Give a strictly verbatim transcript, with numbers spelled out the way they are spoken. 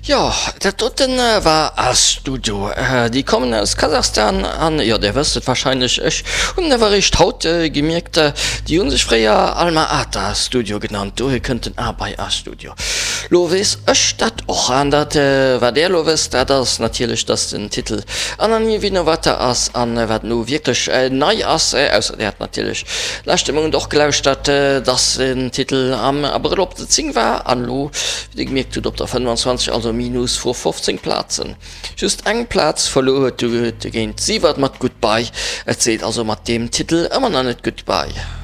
Jo, dat doten war A-Studio. Déi kommen aus Kasachstan an, jo, dir wësst et wahrscheinlech, ech hunn et awer eréischt haut gemierkt, déi hu sech fréier Alma Ata Studio genannt, dohier kënnt den A bei A-Studio. Lo weess ech dat och. An dat wat där lo wësst, dat ass natierlech, dass den Titel Anna Nie Vinovata ass an wat elo wierklech nei ass, ausser där hat natierlech leschte Mount och gelauschtert, dass den Titel am Abrëll op der zéng war an elo, wéi Dir gemierkt hutt, op der fënnwanzwanzeg, also minus vu fofzéng Plazen. Just eng Plaz verluer huet dogéint Sievert mat Goodbye. Et seet also mat deem Titel ëmmer nach net Goodbye.